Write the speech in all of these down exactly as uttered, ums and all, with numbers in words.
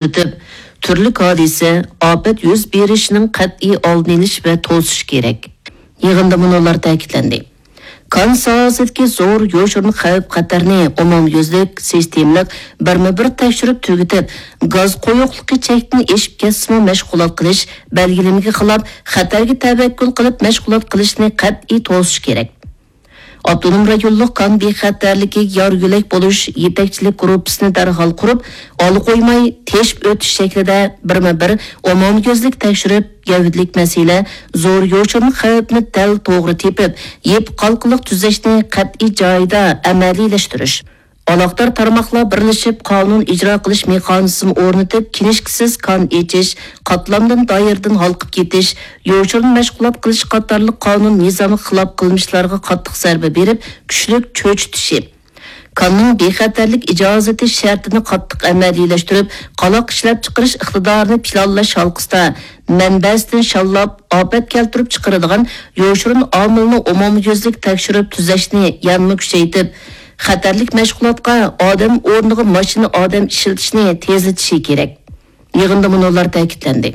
كۆزىتىپ، تۈرلۈك ھادىسە، ئاپەت يۈز بېرىشىنىڭ قەتئىي ئالدىنى ئېلىش ۋە توسۇش كېرەك. يىغىندا مۇنۇلار تەكىتلەندى. كان ساھەسىدىكى زور يوشۇرۇن خەۋپ-خەتەرنى ئومۇميۈزلۈك، سىستېمىلىق، بىرمۇ بىر تەكشۈرۈپ تۈگىتىپ، گاز قويۇقلۇقى چەكتىن ئېشىپ كەتسىمۇ مەشغۇلات قىلىش، بەلگىلىمىگە خىلاپ خەتەرگە تەۋەككۈل قىلىپ مەشغۇلات قىلىشنى قەتئىي توسۇش كېرەك. ئاپتونوم رايونلۇق كان بىخەتەرلىكى يار يۆلەك بولۇش يېتەكچىلىك گۇرۇپپىسىنى دەرھال قۇرۇپ، ئالا قويماي تېشىپ ئۆتۈش شەكلىدە بىرمۇ بىر ئومۇميۈزلۈك تەكشۈرۈپ، گەۋدىلىك مەسىلە، زور يوشۇرۇن خەۋپنى دەل توغرا تېپىپ، يېپىق ھالقىلىق تۈزەشنى قەتئىي جايىدا ئەمەلىيلەشتۈرۈش. ئالاقىدار تارماقلار بىرلىشىپ قانۇن ئىجرا قىلىش مېخانىزمى ئورنىتىپ، كىنىشكىسىز كان ئېچىش، قاتلامدىن، دائىرىدىن ھالقىپ كېتىش، يوشۇرۇن مەشغۇلات قىلىش قاتارلىق قانۇن نىزامغا خىلاپ قىلمىشلارغا قاتتىق زەربە بېرىپ، كۈچلۈك چۆچۈتۈشى. كاننىڭ بىخەتەرلىك ئىجازىتى شەرتىنى قاتتىق ئەمەلىيلەشتۈرۈپ، قالاق ئىشلەپچىقىرىش ئىقتىدارىنى پىلانلاش ھالقىسىدا مەنبەسىدىن شاللاپ، ئاپەت كەلتۈرۈپ چىقىرىدىغان يوشۇرۇن ئامىلنى ئومۇميۈزلۈك تەكشۈرۈپ تۈزەشنى يەنىمۇ كۈچەيتىپ، خەتەرلىك مەشغۇلاتقا ئادەم ئورنىغا ماشىنا ئادەم ئىشلىتىشنى تېزلىتىشى كېرەك. يىغىندا مۇنۇلار تەكىتلەندى.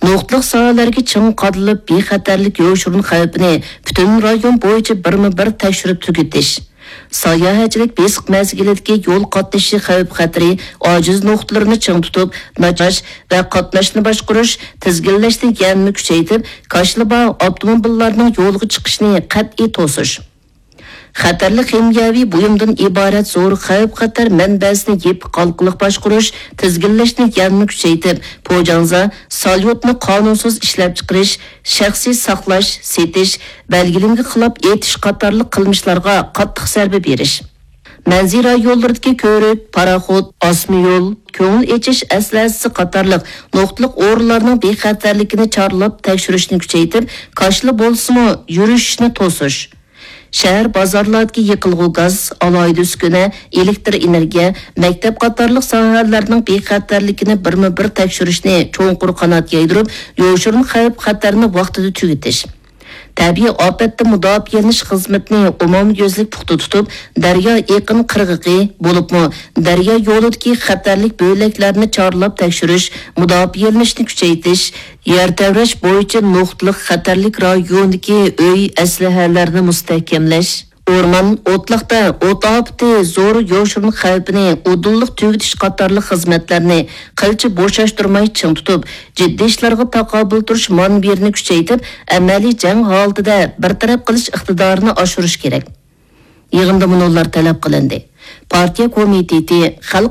نۇقتىلىق ساھەلەرگە چىڭ قادىلىپ، بىخەتەرلىك يوشۇرۇن خەۋپىنى پۈتۈن رايون بويىچە بىرمۇ بىر تەكشۈرۈپ تۈگىتىش، ساياھەتچىلىك بېسىق مەزگىلىدىكى يول قاتنىشى خەۋپ-خەتىرى ئاجىز نۇقتىلىرىنى چىڭ تۇتۇپ، ناچار ۋە قاتناشنى باشقۇرۇش، تىزگىنلەشنى يەنىمۇ كۈچەيتىپ، كاشىلا بار ئاپتوموبىللارنىڭ يولغا چىقىشىنى قەتئىي توسۇش. خەتەرلىك خىمىيەۋى بۇيۇمدىن ئىبارەت زور خەۋپ-خەتەر مەنبەسىنى يېپىق ھالقىلىق باشقۇرۇش، تىزگىنلەشنى يەنىمۇ كۈچەيتىپ، پوجاڭزا، ساليۇتنى قانۇنسىز ئىشلەپچىقىرىش، شەخسىي ساقلاش، سېتىش، بەلگىلىمىگە خىلاپ ئېتىش قاتارلىق قىلمىشلارغا قاتتىق زەربە بېرىش. مەنزىرە يوللىرىدىكى كۆۋرۈك، پاراخوت، ئاسما يول، كۆڭۈل ئېچىش ئەسلىھەسى قاتارلىق نۇقتىلىق ئورۇنلارنىڭ بىخەتەرلىكىنى چارلاپ تەكشۈرۈشنى كۈچەيتىپ، كاشىلا بولسىمۇ يۈرۈشۈشنى توسۇش. شەھەر بازارلاردىكى يېقىلغۇ گاز، ئالاھىدە ئۈسكۈنە، ئېلېكتر ئېنېرگىيە، مەكتەپ قاتارلىق ساھەلەرنىڭ بىخەتەرلىكىنى بىرمۇ بىر تەكشۈرۈشنى چوڭقۇر قانات يايدۇرۇپ، يوشۇرۇن خەۋپ-خەتەرنى ۋاقتىدا تۈگىتىش. تەبىئىي ئاپەتتىن مۇداپىئەلىنىش خىزمىتىنى ئومۇميۈزلۈك پۇختا تۇتۇپ، دەريا ئېقىن قىرغىقى، بولۇپمۇ دەريا يولىدىكى خەتەرلىك بۆلەكلەرنى چارلاپ تەكشۈرۈش، مۇداپىئەلىنىشنى كۈچەيتىش، يەر تەۋرەش بويىچە نۇقتىلىق خەتەرلىك رايوندىكى ئۆي، ئەسلىھەلەرنى مۇستەھكەملەش، ئورمان، ئوتلاقتا ئوت ئاپىتى، زور يوشۇرۇن خەۋپىنى ئۇدۇللۇق تۈگىتىش قاتارلىق خىزمەتلەرنى قىلچە بوشاشتۇرماي چىڭ تۇتۇپ، جىددىي ئىشلارغا تاقابىل تۇرۇش مانېۋىرىنى كۈچەيتىپ، ئەمەلىي جەڭ ھالىتىدە بىر تەرەپ قىلىش ئىقتىدارىنى ئاشۇرۇش كېرەك. يىغىندا مۇنۇلار تەلەپ قىلىندى. پارتىيە كومىتېتى، خەلق